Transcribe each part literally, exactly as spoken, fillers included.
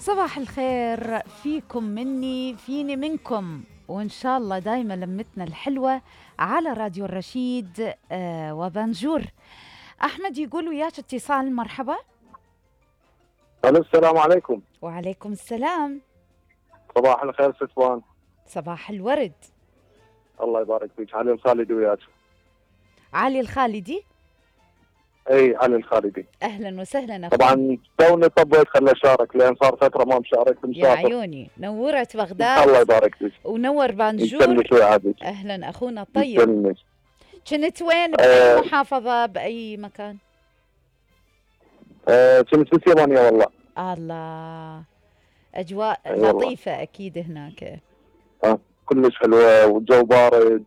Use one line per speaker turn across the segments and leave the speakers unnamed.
صباح الخير فيكم مني فيني منكم، وإن شاء الله دايما لمتنا الحلوة على راديو الرشيد. آه وبنجور. أحمد يقول وياك اتصال، مرحبا.
الو السلام عليكم.
وعليكم السلام.
صباح الخير ستوان.
صباح الورد.
الله يبارك فيك. علي الخالدي وياك.
علي الخالدي.
اي علي الخالدي.
اهلا وسهلا اخوي.
طبعا توني طبيت خلي اشارك لان صار فتره ما مشارك مسافر.
يا عيوني نورت بغداد.
الله يبارك فيك.
ونور بانجور.
يسلمك.
اهلا اخونا الطيب.
يسلمك.
كنت وين؟ باي
أه
محافظه؟ باي مكان؟
أه كنت باليابانيه والله.
الله، اجواء
أيوة
لطيفه والله. اكيد هناك.
اه كلش حلوه والجو بارد.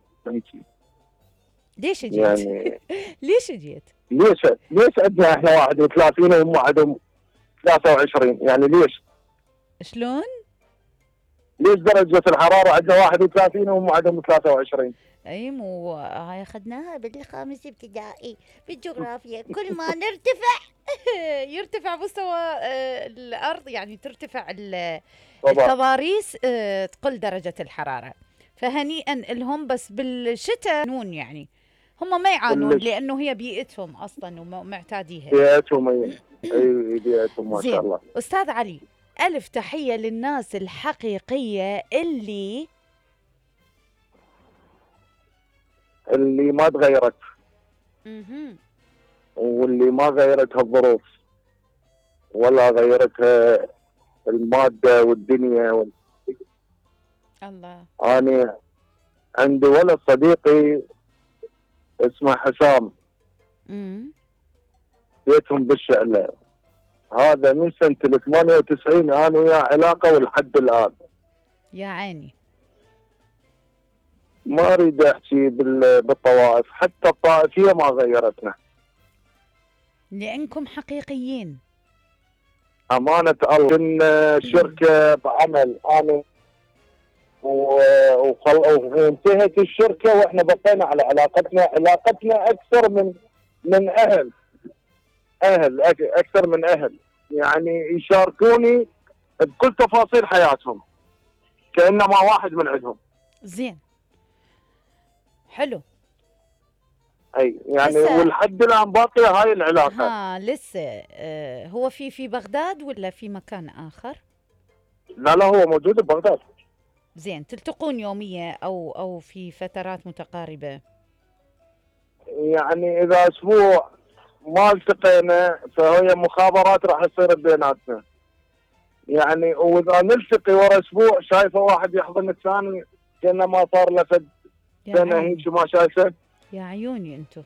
ليش جيت؟
يعني
ليش جيت؟
ليش ليش عندنا احنا واحد وثلاثين وهم عندهم ثلاثة وعشرين؟ يعني ليش؟
شلون؟
ليش درجة الحرارة عندنا واحد وثلاثين وهم عندهم ثلاثة وعشرين؟
اي مو هاي اخذناها بالخامس ابتدائي في الجغرافيا. كل ما نرتفع يرتفع مستوى آه الارض، يعني ترتفع التضاريس آه تقل درجة الحرارة. فهنيئا لهم، بس بالشتاء نون يعني هم ما يعانون لانه هي بيئتهم اصلا ومعتاديها.
بيئتهم اي بيئتهم ما شاء الله.
استاذ علي، الف تحية للناس الحقيقية اللي
اللي ما تغيرت
اها
واللي ما غيرتها الظروف ولا غيرتها المادة والدنيا وال...
الله.
أنا عندي ولد صديقي اسمه حسام.
امم
بيتهم بالشعلة. هذا من سنة ثمانية وتسعين أنا وياه علاقة ولحد الآن.
يا عيني.
ما أريد أحكي بالطوائف، حتى الطائفية ما غيرتنا.
لأنكم حقيقيين.
أمانة الله. كنا شركة بعمل أنا وانتهت الشركة وإحنا بقينا على علاقتنا. علاقتنا أكثر من من أهل أهل أكثر من أهل، يعني يشاركوني بكل تفاصيل حياتهم كأنما واحد من عندهم.
زين، حلو.
اي يعني ولحد الان باقيه هاي العلاقه.
ها لسه. آه هو في في بغداد ولا في مكان اخر؟
لا لا هو موجود ببغداد.
زين، تلتقون يوميا او او في فترات متقاربه؟
يعني اذا اسبوع ما التقينا فهي مخابرات راح تصير بيناتنا. يعني واذا نلتقي ورا اسبوع شايفه واحد يحضن الثاني كانه ما صار له فد سنه هيك ما شايفه.
يا عيوني انتم.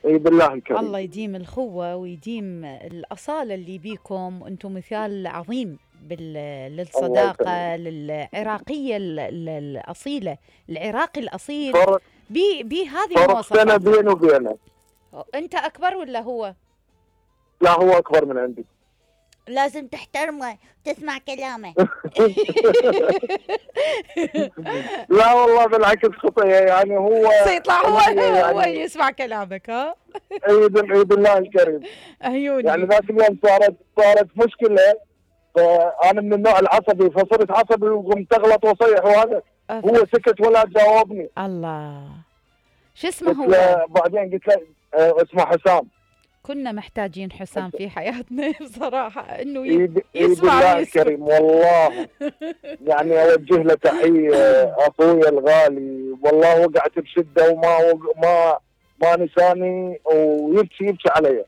اي بالله الكريم.
الله يديم الخوه ويديم الاصاله اللي بيكم، وانتم مثال عظيم للصداقه للعراقيه الاصيله، العراقي الاصيل بهذه المواصفات.
فرق سنه بيني وبينه.
انت اكبر ولا هو؟
لا هو اكبر من عندي.
لازم تحترمه تسمع كلامه.
لا والله بالعكس خطيه، يعني هو
سيطلع هو يعني هو يسمع كلامك. ها
اي بالله الكريم.
عيوني.
يعني ذاك اليوم صارت صارت مشكله، فانا من النوع العصبي فصرت عصبي وقمت اغلط واصيح وهذا هو سكت ولا جاوبني.
الله. شو اسمه هو؟
بعدين قلت له اسمه حسام.
كنا محتاجين حسام في حياتنا بصراحة، انه
يسمع بالله الكريم والله. يعني اوجه له تحية اخويا الغالي، والله وقعت بشدة وما ما ما نساني ويبكي يبكي علي.